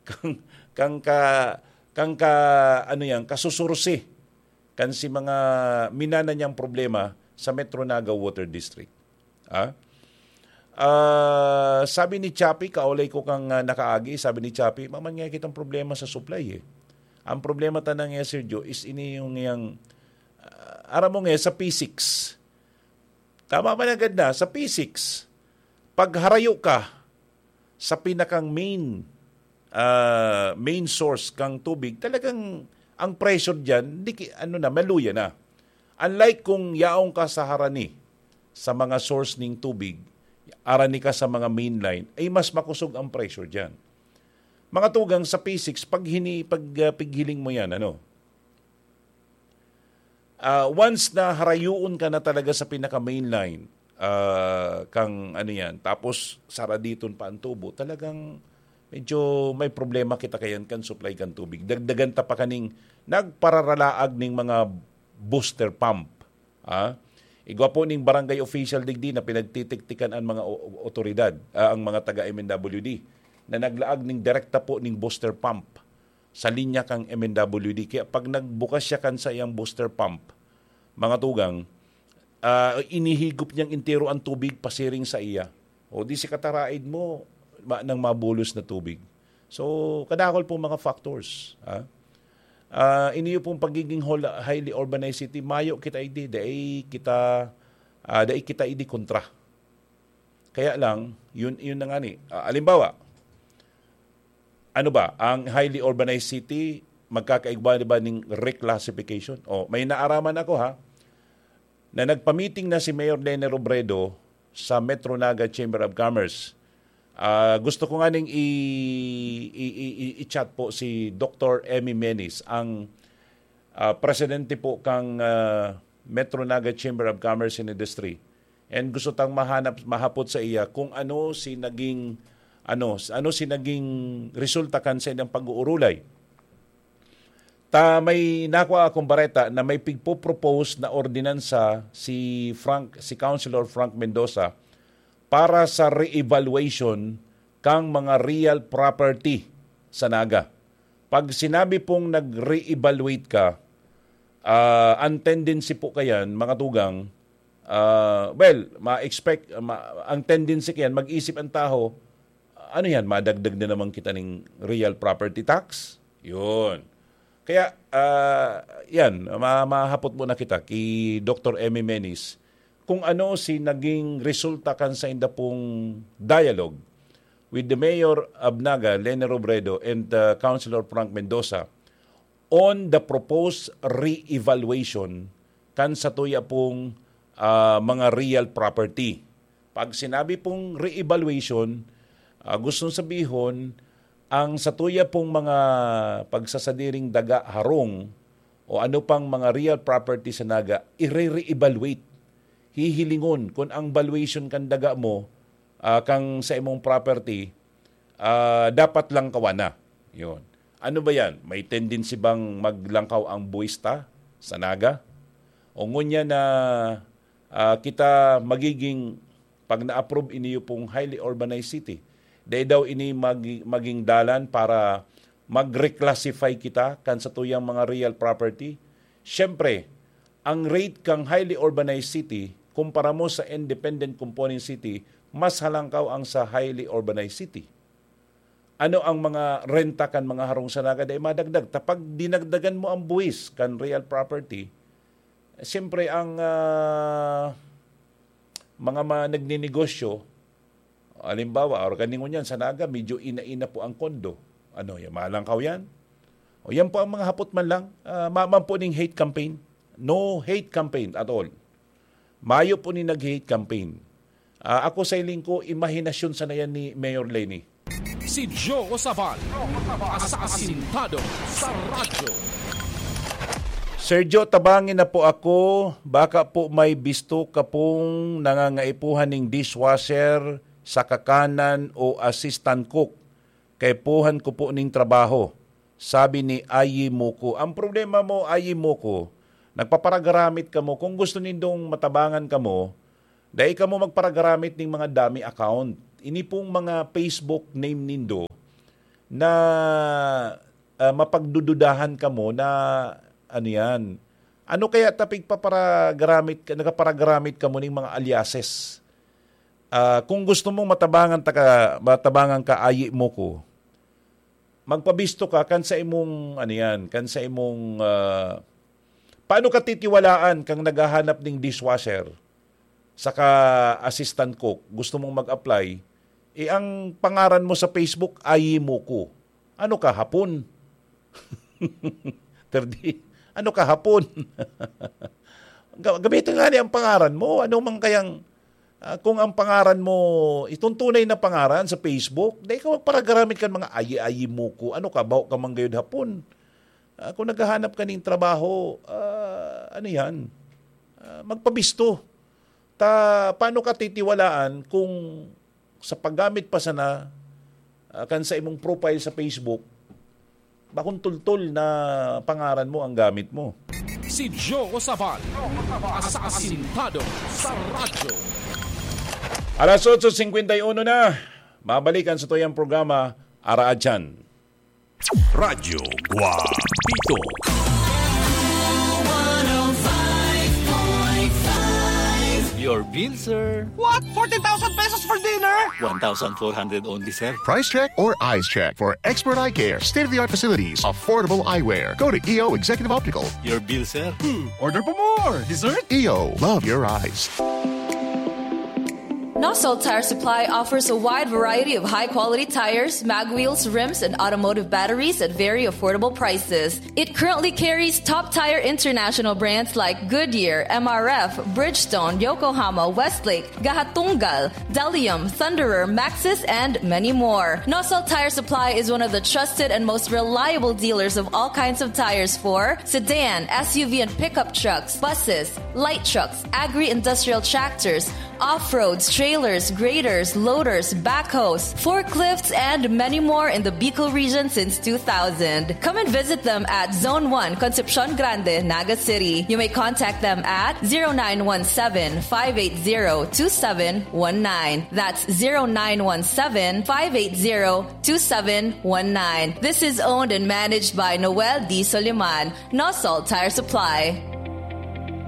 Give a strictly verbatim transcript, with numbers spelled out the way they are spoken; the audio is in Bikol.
Kang, kang ka, kang ka, ano yan, kasusursi kan si mga minana niyang problema sa Metro Naga Water District. Ah? Ah, sabi ni Chappie, kaulay ko kang, ah, nakaagi, sabi ni Chappie, "Maman nga kitang problema sa supply eh. Ang problema tanang nga, Sergio, is ini yung yang, ah, aram mo nga, sa P six." Tama man agad na, sa P six, pag harayo ka sa pinakang main, ah, main source kang tubig, talagang ang pressure diyan, di ki-, ano na, maluya na. Unlike kung yaong ka sa harani, sa mga source ning tubig, arani ka sa mga main line, ay mas makusog ang pressure diyan. Mga tugang sa P six, pag hini-, pag, ah, pighiling mo yan, ano, ah, once na harayoon ka na talaga sa pinaka main line, ah, kang ano yan, tapos saraditon pa ang tubo, talagang medyo may problema kita kayan kan supply kan tubig. Dagdagan ta pa kaning nagpararalaag ning mga booster pump. Ah? Igwa po ning barangay official digdi na pinagtitiktikan ang mga o-, otoridad, ah, ang mga taga M N W D na naglaag ning direkta po ning booster pump sa linya kang M N W D. Kaya pag nagbukas siya kan sa iyang booster pump, mga tugang, ah, inihigop niyang entero ang tubig pasiring sa iya. O di si kataraid mo, ma-, nang mabulos na tubig. So, kadakol pong mga factors. Ah? Ah, iniyo pong pagiging hol-, highly urbanized city, mayo kita idi, dai kita, ah, dai kita idi kontra. Kaya lang, yun, yun na nga ni. Ah, alimbawa, ano ba, ang highly urbanized city, magkakaigwa ba ning reclassification? O, may naaraman ako, ha, na nagpamiting na si Mayor Leni Robredo sa Metro Naga Chamber of Commerce. Ah, gusto ko nga ning i-, i-, i-, i-, i-chat po si Doktor Emmy Menis, ang, ah, presidente po kang, ah, Metro Naga Chamber of Commerce and Industry. And gusto tang mahanap, mahapot sa iya kung ano si naging, ano, ano si naging resulta kan sa ilang pag-uurulay. Ta may nakwa akong bareta na may pigpo-propose na ordinansa si Frank, si Councilor Frank Mendoza para sa re-evaluation kang mga real property sa Naga. Pag sinabi pong nag-re-evaluate ka, ah, ang tendency po kayan, mga tugang, ah, well, ma-expect, ma-, ang tendency kayan, mag-isip ang tao, "Ano yan, madagdag na naman kita ning real property tax?" Yun. Kaya, ah, yan, ma-, mahapot muna kita ki Doktor Emmy Menis kung ano si naging resulta kan sa inda pong dialogue with the Mayor of Naga, Leni Robredo, and, uh, Councilor Frank Mendoza on the proposed re-evaluation kan satuya pong, ah, mga real property. Pag sinabi pong re-evaluation, ah, gustong sabihon, ang satuya pong mga pagsasadiring daga, harong, o ano pang mga real property sa Naga, i-re-evaluate. Hihilingon kung ang valuation kan daga mo, ah, kang sa imong property, ah, dapat langkawan na. Yun. Ano ba yan? May tendency bang maglangkaw ang buwis ta sa Naga? O ngunyan na, ah, kita magiging, pag na-approve iniyo pong highly urbanized city, dai daw ini magi-, maging dalan para mag-reclassify kita kan satuyang mga real property? Siyempre, ang rate kang highly urbanized city kumpara mo sa independent component city, mas halangkaw ang sa highly urbanized city. Ano ang mga renta kan mga harong sa Naga dai madagdag? Ta pag dinagdagan mo ang buwis kan real property, siyempre ang, ah, mga ma-, nagninegosyo, halimbawa, or kaningon yan, sa Naga, medyo ina-ina po ang kondo. Ano, yan, malangkaw yan? O yan po ang mga hapot man lang. Ah, ma-, man po ning hate campaign. No hate campaign at all. Mayo po ni nag-hate campaign. Ah, ako sa iling ko, imahinasyon sana yan ni Mayor Leni. Si Joe Sabal, asasintado sa radyo. Sergio, tabangin na po ako. Baka po may bisto ka pong nangangaipuhan ning dishwasher sa kakanan o assistant cook. Kaipuhan ko po ning trabaho, sabi ni Ayi Moko. Ang problema mo, Ayi Moko, nagpaparagaramit kamo. Kung gusto nindong matabangan kamo, dai kamo magparagaramit ning mga dummy account. Ini pong mga Facebook name nindo na, ah, mapagdududahan kamo na ano yan. Ano kaya ta pigpaparagamit, nagpaparagamit kamo ning mga aliases? Ah, kung gusto mong matabangan ta ka, matabangan ka, ayi mo ko. Magpabisto ka kan sa imong, ano yan, kan sa imong, ah, paano ka titiwalaan kang naghahanap ning dishwasher saka assistant cook, gusto mong mag-apply, eh, ang pangaran mo sa Facebook, Ayi mo ko. Ano ka, Hapon? Terdi, ano ka, Hapon? Ga-, gamitin nga niya ang pangaran mo. Ano man kayang, ah, kung ang pangaran mo, itong tunay na pangaran sa Facebook, dai ka magparagamit kan mga ayi-ayi mo ko. Ano ka, baho ka man gayud, Hapon? Ah, kung naghahanap ka ning trabaho, ah, ano yan? Ah, magpabisto. Ta, paano ka titiwalaan kung sa paggamit pa sana, ah, kan sa imong profile sa Facebook, bakong tultol na pangaran mo ang gamit mo? Si Joe Sabal, asasintado sa radyo. Alas otso singkwenta y uno na. Mabalikan sa tuyang programa, Araadyan. Radyo Guapito. Your bill, sir. What? Fourteen thousand pesos for dinner? One thousand four hundred only, sir. Price check or eyes check for expert eye care, state-of-the-art facilities, affordable eyewear. Go to E O Executive Optical. Your bill, sir. Hmm, order pa more. Dessert? E O, love your eyes. Nosol Tire Supply offers a wide variety of high-quality tires, mag wheels, rims, and automotive batteries at very affordable prices. It currently carries top tire international brands like Goodyear, M R F, Bridgestone, Yokohama, Westlake, Gahatunggal, Delium, Thunderer, Maxxis, and many more. Nosol Tire Supply is one of the trusted and most reliable dealers of all kinds of tires for sedan, S U V, and pickup trucks, buses, light trucks, agri-industrial tractors, off-roads, trailers, graders, loaders, backhoes, forklifts, and many more in the Bicol region since two thousand. Come and visit them at Zone one, Concepcion Grande, Naga City. You may contact them at zero nine one seven, five eight zero, two seven one nine. That's zero nine one seven, five eight zero, two seven one nine. This is owned and managed by Noel D. Soliman, Nosol Tire Supply.